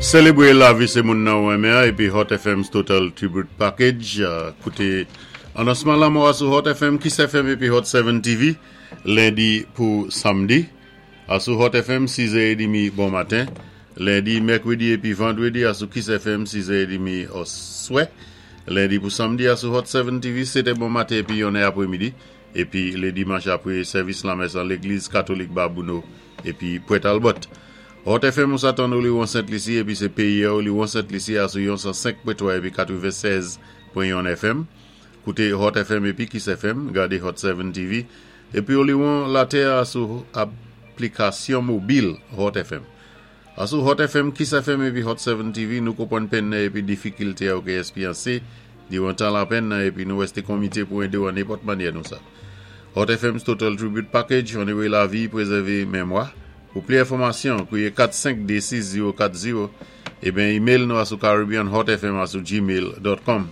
Sélébwé lavi sé moun nan ou renmen an épi Hot FM's Total Tribute Package. Kouté anonsman lanmò a sou Hot FM, Kiss FM épi Hot 7 TV lendi pou samdi. A sou Hot FM 6 è édmi bon maten, lendi, mèkredi épi vandredi a sou Kiss FM 6 è édmi oswè, lendi pou samdi a sou Hot 7 TV 7 è bon maten épi 1 è apré midi, épi lé dimanch apré sèvis lamès an légliz katolik Babouno épi Pwent Albòt. Hot FM ou sa tann Oliwon Sent Lisi épi sé péyi a Oliwon Sent Lisi a sou yon 105.3 épi 96.1 FM. Kouté Hot FM épi Kiss FM, gadé Hot 7 TV épi Oliwon latè a sou aplikasyon mobil Hot FM. A sou Hot FM, Kiss FM épi Hot 7 TV nou konpwann penn nan épi difikilte a ou ké èspyansé diwan tan lapenn nan épi nou wèsté konmité pou édé ou an nenpòt mannyè nou sa. Hot FM's Total Tribute Package, Onoré lavi, prézèvé mémwa. Pou pli enfòmasyon, kwiyé 452 6040 eben email nou a sou caribbeanhotfm a sou gmail.com.